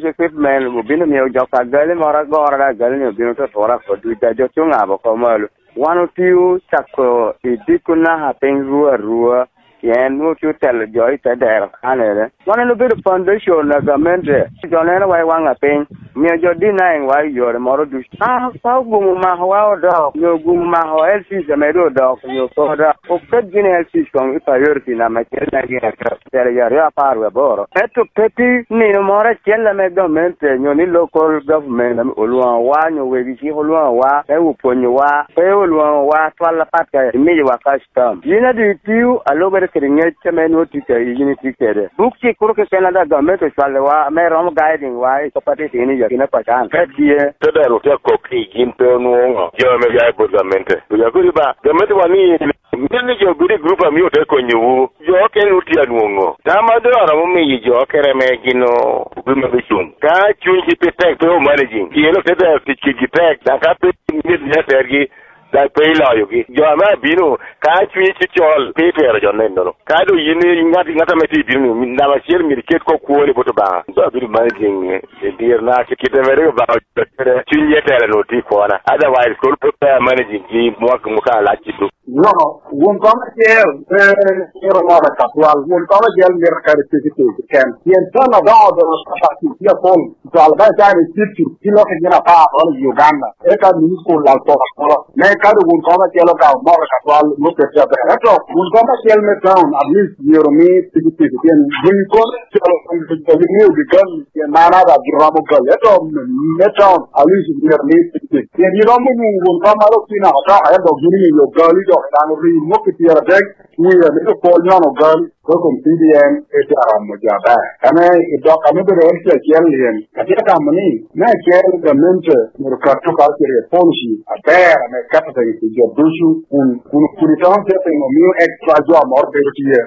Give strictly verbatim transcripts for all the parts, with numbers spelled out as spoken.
Equipment obino miyo jo ka gali moro agoro, da gali-ni obino tutura oko duc, da jo cuŋ abo oko malo. Wan otio cako i dikku naka piny ru arua, pien nwoŋo tye otelo jo i te dero kanere. Wan en obedo foundation a gamente, jo neno wa i waŋ apiny, miyo jo denying wa i yore moro ducu. Ka, ka ogumo makowa odok, nyo ogumo mako L Cs ame doŋ odok, nyo koda, oket gini L Cs koŋ i priority namba acel me gin acel, telo i aryo apar wie aboro. Ento pe tye nino moro acel ame gamente nyo ni local government ame olwoŋowa, nyo wegi cik olwoŋowa, me opwonyowa, pe olwoŋowa twal apat ka imiyowa custom. Yin adi itio alubere kede ŋec ame nwoŋo tye kede, yin itye kede. Buk cik kuro keken ada gamente ocwalowa, ame romo guiding wa i kop atit ni yakina pacan. Ka tye, te dero tye akok i gin pe onwoŋo. Jo ame ya i bot gamente. Oya kodi ba, gamente wa ni, mito ni jo bedo i grup a mio te konyowu. Jo okene wun tye anwoŋo. Tam a doŋ aromo miyo jo okene ame gin o-, obino me cuŋ. Ka cunygi pe tek, pe o managing, pien ote dero tic kedgi tek, daŋ ka pe myero ni atergi, daŋ pe iloyogi. Jo ame abino, ka cunyi tye col, pe itwero jo nennono. Ka doŋ yin i ŋat, ŋat ame tye i bino-ni, namba acel myero iket kop kwoni bot Obaŋa. Doŋ abedo managing i dierna, kite mere Obaŋa ojuto kede, cuny ye tela nwoŋo tye i kwona. Otherwise, kono pe pe amanaging gi mwaka, mwaka alac i duk. No, won kom acel, eh, myero moro ka twal. Won kom acel myero kare tye ki tye keken. Pien tam adoŋo doŋo kapati tye apol. Twal ba icani city, ki lok i gin apar olo i Uganda. Eka mini school lal pok apolo. Me kadi wun kom acel okawo moro ka twal, nwoŋo pet ca ber. Ento wun kom acel me town, at least myero mi tiki tiki. Pien winyo kom acel, winyo gi gal, pien man ada gi romo gal. Ento me, me town, at least myero mi tiki tiki. Pien iromo nwoŋo wun kom malo kina otoka, ento gini miyo gal i dok daŋ ri nwoŋo ki pyero adek, wiye mito pol nyono gal. Program C D M pe tye aromo jo aber. Ame i dok ame bedo en tye acel lyen, atye ka tamo ni, me acel, gamente myero kat to culture policy aber ame keto piny pi jo ducu, kun, kun, kun itono tye piny omio extra jo moro bedo tye.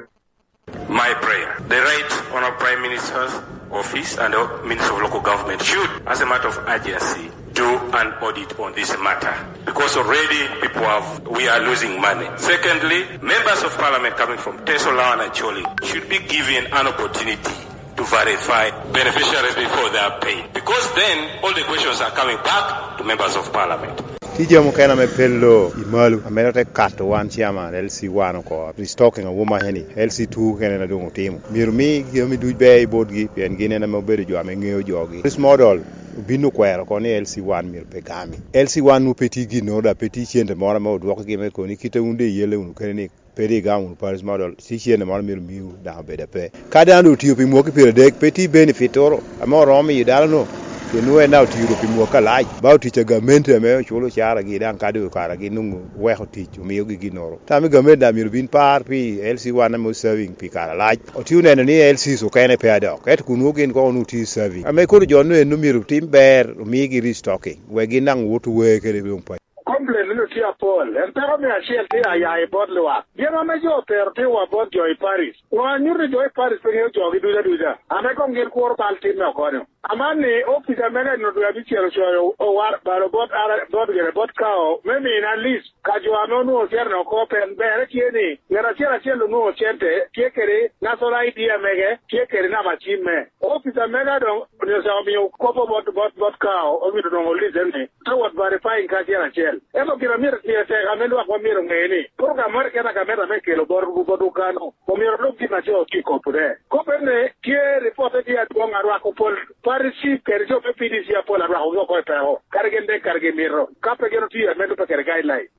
My prayer, the Right Honorable Prime Minister's Office and the Minister of Local Government should, as a matter of urgency, do an audit on this matter, because already people have, we are losing money. Secondly, members of parliament coming from Teso, Lawan and Acholi should be given an opportunity to verify beneficiaries before they are paid, because then all the questions are coming back to members of parliament. Tye jami mukene ame pe lo i malo, ame dok te kato wan chairman L C one oko, restocking a woma heni, L C two kene na doŋ otimo. Myero mi jami duc ber i botgi, pien gin en ame obedo jo ame ŋeo jogi. Chris Model obin okwero oko ni L C one myero pe gami. L C one nwoŋo pe tye ginnoro, dok pe tye cente moro ame odwokogi me koni, kite wun de iyelle wunu kene ni pe di igamo wunu Paris Model, tye cente moro myero miwu, dok obed ape. Ka dano doŋ otio pi mwaki pyeradek, pe tye benefit toro, ame oromo miyo dano-nu, pien nwoŋo en daŋ otio pi mwaki alac. Ba otic a gamente ame oculo caragi, daŋ ka doŋ okaragi, nwoŋo weko tic, omiogi ginnoro. Tam i gamente daŋ myero bin par pi L C one ame oserving pi kare alac. Otye oneno ni L Cs okene pe adok, ento kun nwoŋo gin koŋ onwoŋo tye serving. Ame kono jo-nu eno myero otim ber, omigi restocking, wek gin daŋ owot ower kede doŋ pa. Complain ni tye apol, en peko me acel tye aya i bot lwak. Gin ame jo otero tye wa bot jo i Paris. Wa nyuto jo i Paris pe ŋeo jogi duc aduca, ame koŋ gin kuro bal timme okonyo. Aman ni, opica mega i nino dwe abicel ocoyo owar balo bot ara-, bot gire, bot kao, me mina list. Ka jo ame onwoŋo cente oko, pien berre tye ni, ngat acel acel onwoŋo cente, tye kede national I D mege, tye kede namba cimme. Opica mega doŋ onyo ca omio kop bot, bot, bot kao, omito doŋ olise ni, te wot verifying ka acel acel. Ento gin amito tye tek ame lwak wa myero oŋe ni, program moro keken a gamente ame kelo bot, bot okano, omyero olub gin a co tye kobo de. Kop ene, tye ripotte tye adwoŋ a rwako pol parish chief kede jo me P D C apol a rwakogi oko i peko, kadi gin dek kadi gin mito, ka pe gin otiyo ame lubbe kede guideline.